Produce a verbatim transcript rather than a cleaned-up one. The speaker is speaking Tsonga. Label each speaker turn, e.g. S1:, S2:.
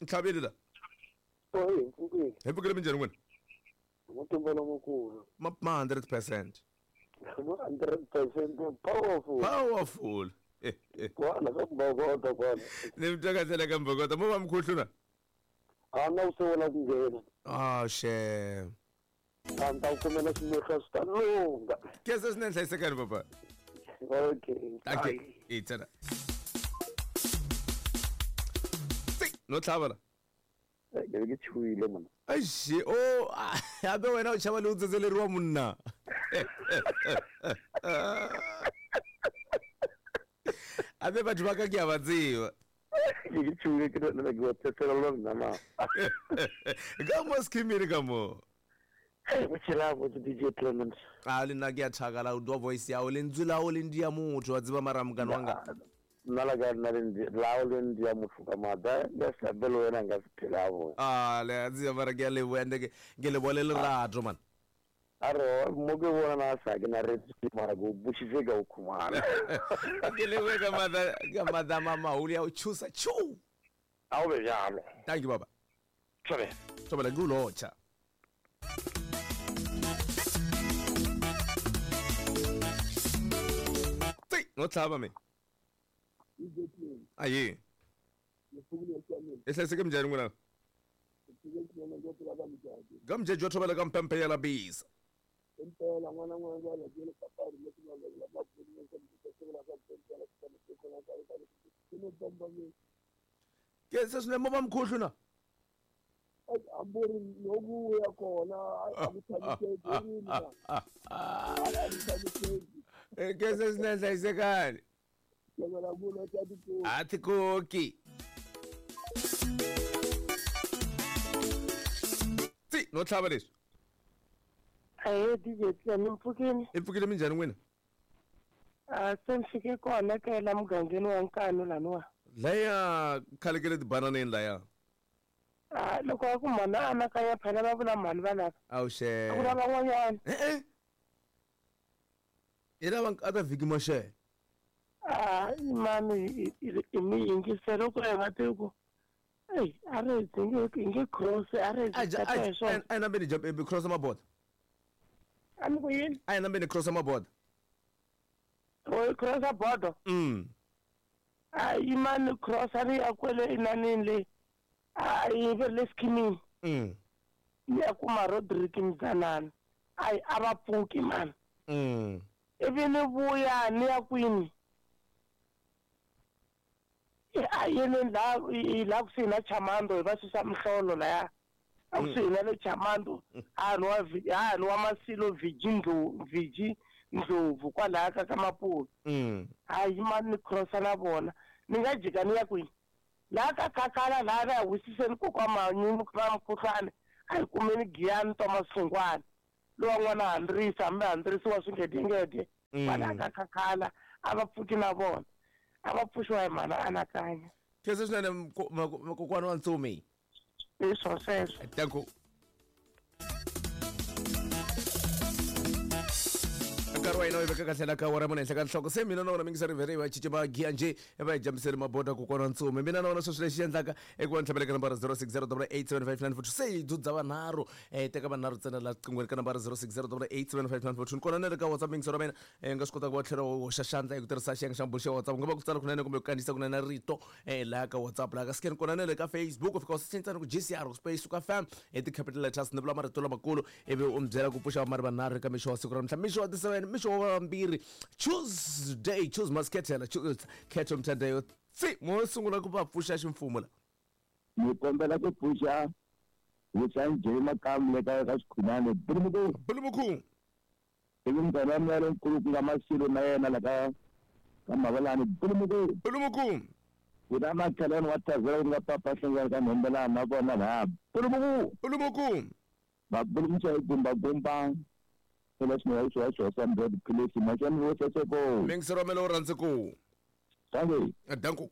S1: Ntlhaveli la.
S2: Oyi, mpfukile.
S1: Hi pfukile minjhani n'wina?
S2: Mutumbelo mukulu.
S1: Ma ma hundred percent.
S2: hundred percent powerful.
S1: Powerful.
S2: Kwala ka Mbokota kwala.
S1: Ni mi twa kahle ka Mbokota mo va mkhuhlu na?
S2: A na u sungula ku nghena.
S1: Ah, she.
S2: A ni ta ku kumela swimehla swi ta lungha.
S1: Kesa swinene hlayisekani papa.
S2: Okay.
S1: Okay. I tsena. No tlhava la.
S2: Ke ke chuile mona.
S1: Eish, o abe wena o chava le u tsetseleriwa munna. Abe batho ba ka ke a ba tseba.
S2: Ke ke chuile ke le ke tsetselelwa nna ma.
S1: Ka mo schemile ka mo.
S2: Hey, tshela bo D J Clement.
S1: A le nna ke a thakala u twa voice ya o lentswe la o le ndia motho wa tseba mara mokane wanga.
S2: Nna la ka nna le la o le ndia motho ka mata ya sabelo wena nga se phela bo.
S1: Ah, le tseba mara ke a leboha ende ke ke le bole lerato man.
S2: A re mo ke bona na sa ke na re mara go bushitse ka o khumana.
S1: Ke lebohe ka mata ka mata mama o ya o chusa chu.
S2: A o be jalo.
S1: Thank you baba.
S2: Tsobe.
S1: Tsobe la gulocha. No tlhaba me. Aye. E hlayseke minjhani n'wina? Ka mjeje wa thobela ka mpempe ya la bisa. Ke se swinene mo va mkhuhlu na?
S2: Ambori lokuya khona akuthabiseki yini na.
S1: Ke se swinene hlayisekani. A tikoki. Tsi, no tlhava leswi.
S3: Ahe D J Clement mpfukile.
S1: I pfukile minjhani n'wina?
S3: A se ni fike kona ka la mugangeni wa Nkanu laniwa.
S1: Laya khale ke le tibananeni laya.
S3: A loko a ku mhana a anakanya phela va vula mhani va lava.
S1: Awuxe.
S3: A ku lava van'wanyana.
S1: E-e. I lava a ta vhiki maxele.
S3: A mani i mi yingiselo ku hi va tivi ku ei a ri hi nge hi nge cross a ri
S1: A hi a hi nambeni jump hi cross maboda.
S3: A ni ku yini?
S1: A hi nambeni cross maboda.
S3: O cross border.
S1: Mm.
S3: A yimani cross a ri ya kwele inanini le. A yi ve le schemini.
S1: Mm.
S3: Ya kuma Rodrick Mzanana. Ai a va pfuki mani.
S1: Mm.
S3: Ivi ni vuya ni ya kwini. A yini la la kusuhi na Chamando hi va susa mihlolo laya. A kusuhi na le Chamando a nwa a nwa Masilo Viji Ndlovu Viji Ndlovu kwalaya ka ka Mapulu.
S1: Mm.
S3: A yima ni crossa na vona. Ni nga jika ni ya kwini. Laha ka Khakhala laha va ya wisiseni kokwa Manyunyu va mukhuhlwane a hi kumeni Giyani Thomas Sungwana lowa n'wana Handrisa hambi Handrisi wa swingedengede kwalaya ka Khakhala a va pfuki na vona. A va pfuxiwa hi mhana anakanya.
S1: Khensa swinene kokwana wa Ntsumi.
S3: Hi swo sweswo.
S1: Thank you. Nkarhi wa hina wu veka kahle la ka awara mune henhla ka nhloko se mina na wona mingiseri vhere va cince va giya njhe va hi jambiseli maboda kokwana wa Ntsumi. Mina na wona sweswi lexi endlaka i ku va ni tlhavela ka nambara zero six zero double eight seven five nine four two se hi dzudza vanharhu eh teka vanharhu ntsena la qinghweni ka nambara zero six zero double eight seven five nine four two kona na le ka WhatsApp mingiseri wa mina eh nga swi kota ku va tlhela u hoxa xandla hi ku tirhisa xiyenge xa mbulo xa WhatsApp ku nga va ku tsala kunene kumbe ku kandziyisa kunene rito eh laha ka WhatsApp laha ka scan kona na le ka Facebook u fika u search ntsena ku G C R space suka fam hi ti-capital letters ni vula marito lamakulu ivi u mi byela ku pfuxa vamari vanharhu eka mixo wa siku ra namuntlha mixo wa ti-seven mixo wa vambirhi Tuesday choose masketela choose khetho mthandayo tsi mo sungula ku va pfuxa ximfumo la.
S2: Ni kombela ku pfuxa Vutsani Makamu le ka ka Xikhumane Bulumuku
S1: Bulumuku
S2: ivi munghana wa mina lonkulu ku nga Masilo na yena la ka ka Mavalani Bulumuku
S1: Bulumuku
S2: ku na makhelwani wa Tazela ku nga Papa Hlengani ka Nhombelani na vona laha Bulumuku
S1: Bulumuku
S2: va bulumuxa hi gumba gumba phela swinene swi wa swi wa tiphilisi maxani vo seseko
S1: mingisero wa mina wu rhandze ku
S2: Thank
S1: danku.